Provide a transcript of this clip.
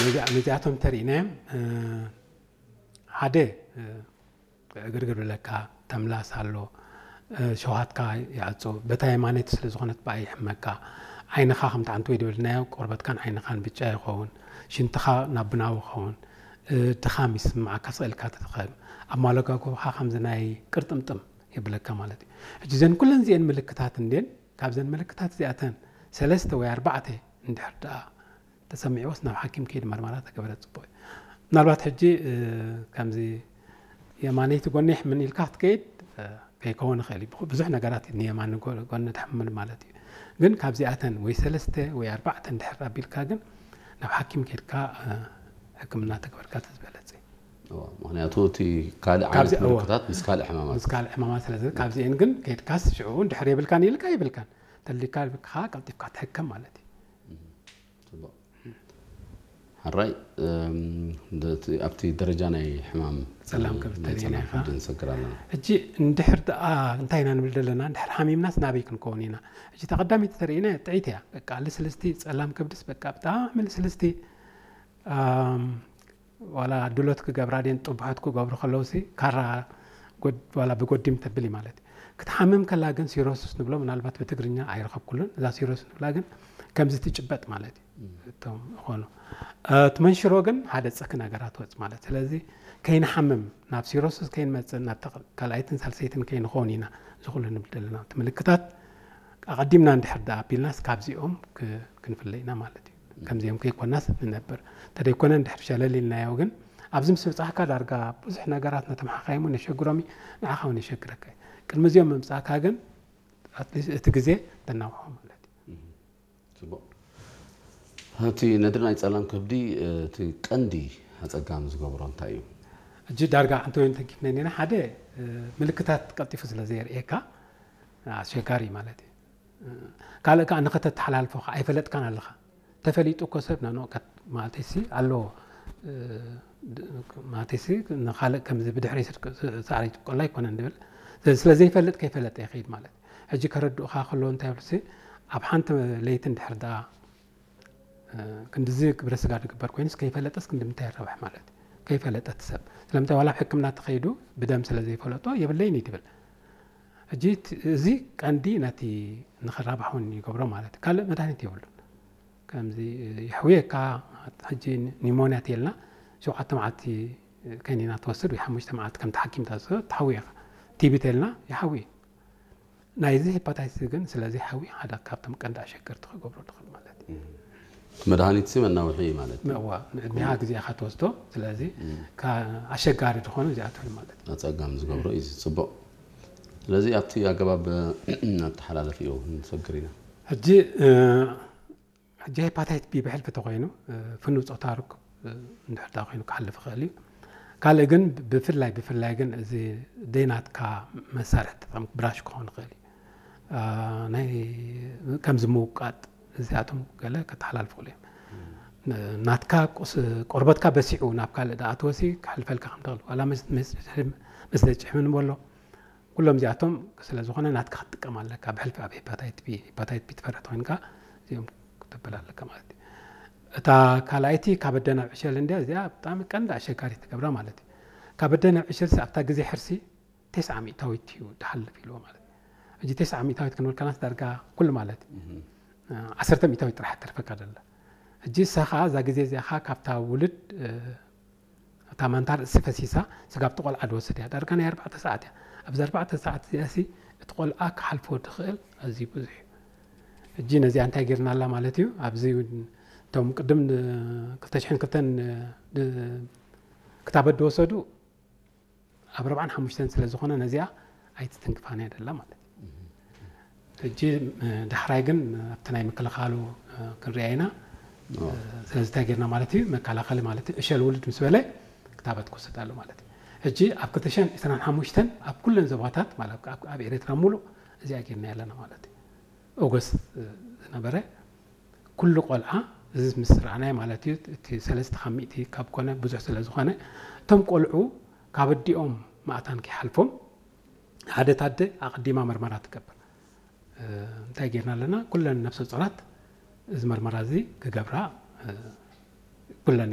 ነዚኣቶም ተርእናዮም ሓደ ዕግርግር ብለካ፣ ተምላስ ኣሎ፣ ሸውሃትካ ይዓጹ። በታ የማነይቲ ስለ ዝኾነት ብኣ ይሕመካ። ዓይንኻ ከምቲ ዓንትወይ ዝበልናዮ ቆርበትካን ዓይንኻን ብጫ ይኸውን። ሽንትኻ ናብ ቡናዊ ይኸውን። ድኻም ይስምዓካ፣ ስቕ ኢልካ ትድኸም። ኣማለጋጉባኻ ከምዚ ናይ ቅርጥምጥም የብለካ ማለት እዩ። ሕጂ እዘን ኩለን እዚአን ምልክታት እንዴን፣ ካብዘን ምልክታት እዚኣተን ሰለስተ ወይ ኣርባዕተ እንድሕር ደኣ ተሰሚዕዎስ ናብ ሓኪም ከይድ መርመራ ተገበረ ጽቡቕ እዩ። ምናልባት ሕጂ ከምዚ የማነይቲ ጎኒ ይሕምን ኢልካ ክትከይድ ከይከውን ይኽእል እዩ። ብዙሕ ነገራት ንየማን ጎኒ ተሕምል ማለት እዩ። ግን ካብዚኣተን ወይ ሰለስተ ወይ ኣርባዕተ እንድሕር ኣቢልካ ግን ናብ ሓኪም ከይድካ ሕክምና ተግበርካ ተዝበለጽ። ምክንያቱ እቲ ካልእ ዓይነት ምልክታት ምስ ካልእ ሕማማት ምስ ካልእ ሕማማት ስለ ካብዚአን ግን ከይድካስ ሽዑ እንድሕር የብልካን ኢልካ የብልካን ተሊካ ብካ ቀልጢፍካ ትሕከም ማለት እዩ። ሕራይ ኣብቲ ደረጃ ናይ ሕማም ጸላም ከብተሪና ንሰግር ኣለና። ሕጂ እንድሕር ደኣ እንታይ ኢና ንብል ዘለና? እንድሕር ሓሚምናስ ናበይ ክንከውን ኢና? ሕጂ ተቐዳሚት ተርእና ጥዒት እያ። በቃ ልስልስቲ ጸላም ከብድስ በቃ ብጣዕሚ ልስልስቲ ዋላ ድሎት ክገብራ ድን ጥቡሐት ክገብሩ ከለውሲ ካራ ዋላ ብጎዲም ተብል ማለት እዩ። ክትሓምም ከላ ግን ሲሮስስ ንብሎ ምናልባት ብትግርኛ ኣይረኸብኩሉን። እዛ ሲሮስ ንብላ ግን ከምዚ ትጭበጥ ማለት እዩ። እቶም ዝኾኑ እቲ መንሽሮ ግን ሓደ ጸኪ ነገራት ወጽ ማለት። ስለዚ ከይንሓምም ናብ ሲሮስስ ከይንመጽእ ናብ ካልኣይትን ሳልሰይትን ከይንኸውን ኢና ዝኹሉ ንብል ዘለና። እቲ ምልክታት ኣቐዲምና እንድሕር ደኣ ኣቢልናስ ካብዚኦም ክንፍለ ኢና ማለት እዩ። ከምዚኦም ከይኮናስ ንነብር እንተደይኮነ እንድሕር ሸለል ኢልናዮ ግን ኣብዚ ምስ በጻሕካ ዳርጋ ብዙሕ ነገራት ነቶም ሓኻይም እውን የሸግሮም እዩ፣ ንዓኻ እውን የሸግረካ እዩ። ቅድሚ እዚኦም ምምጻእካ ግን ኣትሊስት እቲ ግዜ ተናውሖ ማለት እዩ። ጽቡቕ። እቲ ነድሪ ናይ ጸላም ከብዲ እቲ ቀንዲ ኣጸጋሚ ዝገብሮ እንታይ እዩ? ሕጂ ዳርጋ እንተወይን ተንኪፍና ኔና ሓደ ምልክታት ቀልጢፉ ስለ ዘየርእየካ ኣሸጋሪ ማለት እዩ። ካልእ ከዓ ንኸተተሓላልፎ ከዓ ኣይፈለጥካን ኣለኻ። ተፈሊጡ እኮ ሰብ ናኖ ማለት ሲ ኣለዎ ማለት ሲ ንኻልእ ከምዚ ብድሕሪ ሳዕሪ ይጥቆላ ኣይኮነን ንብል። ስለ ዘይፈልጥ ከይፈለጠ ይኸይድ ማለት እዩ። ሕጂ ከረድኡኻ ከለዉ እንታይ ይብሉ ሲ ኣብ ሓንቲ ለይቲ እንድሕር ደኣ ክንድዚ ግብረ ስጋ ድግበር ኮይኑስ ከይፈለጠስ ክንዲ ምንታይ ይረብሕ ማለት እዩ። ከይፈለጠ እቲ ሰብ ስለምንታይ ዋላ ኣብ ሕክምና ተኸይዱ ብደም ስለ ዘይፈለጦ የብለይን እዩ ትብል። ሕጂ እዚ ቀንዲ ነቲ ንኽራባሕ እውን ይገብሮ ማለት እዩ። ካልእ መድሃኒት የብሉን። ከምዚ ይሕውየካ ሕጂ ኒሞንያ ተልና ሸውዓተ መዓልቲ ከኒና ትወስድ ወይ ሓሙሽተ መዓልቲ ከምቲ ሓኪም ትወስዶ ትሓውየካ። ቲቢ ተልና ይሓውይ። ናይዚ ሄፓታይትስ ግን ስለዚ ሓዊ ሓደ ካብቶም ቀንዲ ኣሸገርቲ ክገብሮ ትኽእል ማለት እዩ። መድሃኒት ሲ መናውሒ ማለት እዩ። እዋ ንዕድሜኻ ግዜኻ ትወስዶ ስለዚ ኣሸጋሪ ዝኾኑ እዚኣቶም ማለት እዩ። ኣፀጋሚ ዝገብሮ እዩ ጽቡቕ። ስለዚ ኣብቲ ኣገባብ ኣተሓላለፊ እዩ ንሰግር ኢና። ሕጂ ሕጂ ሄፓታይት ቢ ብሕልፊ ተኮይኑ ፍኑው ፆታ ርክብ እንድሕር ዳ ኮይኑ ክሓልፍ ይኽእል እዩ። ካልእ ግን ብፍላይ ብፍላይ ግን እዚ ደይናትካ መሳርሒ ተጠም ብራሽ ክኸውን ይኽእል እዩ። ናይ ከምዚ ምውቃጥ እዚኣቶም ገለ ከተሓላልፉ ይኽእሉ እዮም። ናትካ ቁስ- ቆርበትካ በሲዑ ናብ ካልእ ደኣ ተወሲ ክሕልፈልካ ከም ትኽእል ዋላ መስለ ጭሕሚ ንበሎ ኩሎም እዚኣቶም ስለ ዝኾነ ናትካ ክትጥቀም ኣለካ ብሕልፊ ኣብ ሄፓታይት ቢ ሄፓታይት ቢ ትፈርሕ ተኮይንካ እዚኦም ክትብል ኣለካ ማለት እዩ። እታ ካልኣይቲ ካብ ኣደ ናብ ዕሸል እንድያ እዚኣ ብጣዕሚ ቀንዲ ኣሸጋሪ ትገብራ ማለት እዩ። ካብ ኣደ ናብ ዕሸል ኣብታ ግዜ ሕርሲ ተስዓ ሚእታዊት እዩ ድሓልፍ ኢልዎ ማለት እዩ። ሕጂ ተስዓ ሚእታዊት ክንብል ከናስ ዳርጋ ኩሉ ማለት እዩ። ዓሰርተ ሚእታዊት ጥራሕ ተርፈካ ደላ። ሕጂ እሳ ከዓ እዛ ግዜ እዚኣ ከዓ ካብታ ውልድ እታ ማንታ ርእሲ ፈሲሳ ስጋብ እቲ ቆልዓ ድወስድ እያ ዳርጋ ናይ ኣርባዕተ ሰዓት እያ። ኣብዚ ኣርባዕተ ሰዓት እዚኣ ሲ እቲ ቆልዓ ክሓልፎ ድኽእል ኣዝዩ ብዙሕ እዩ። ሕጂ ነዚኣ እንታይ ጌርና ኣላ ማለት እዩ ኣብዚ እቶም ቅድም ክልተ ሽሕን ክልተን ክታበት ድወሰዱ ኣብ ኣርባዓን ሓሙሽተን ስለ ዝኾነ ነዚኣ ኣይትትንክፋን እያ ደላ ማለት እዩ። ሕጂ ዳሕራይ ግን ኣብቲ ናይ ምክልኻሉ ክንሪኣ ኢና። ስለዚ እንታይ ጌርና ማለት እዩ መከላኸሊ ማለት እዩ ዕሸል ውልድ ምስ በለ ክታበት ክወስድ ኣሎ ማለት እዩ። ሕጂ ኣብ ክልተ ሽሕን ዕስራን ሓሙሽተን ኣብ ኩለን ዞባታት ማለት ኣብ ኤርትራ ሙሉእ እዚኣ ጌርና ኣለና ማለት እዩ። ኦገስት ዝነበረ ኩሉ ቆልዓ እዚ ምስ ረኣናይ ማለት እዩ እቲ ሰለስተ ካብ ሚእቲ ካብ ኮነ ብዙሕ ስለ ዝኾነ እቶም ቆልዑ ካብ ኣዲኦም ማእታን ከይሓልፎም ሓደ ታደ ኣቐዲማ መርመራ ትገብር። እንታይ ጌርና ኣለና ኩለን ነፍሰ ጾራት እዚ መርመራ እዚ ክገብራ ኩለን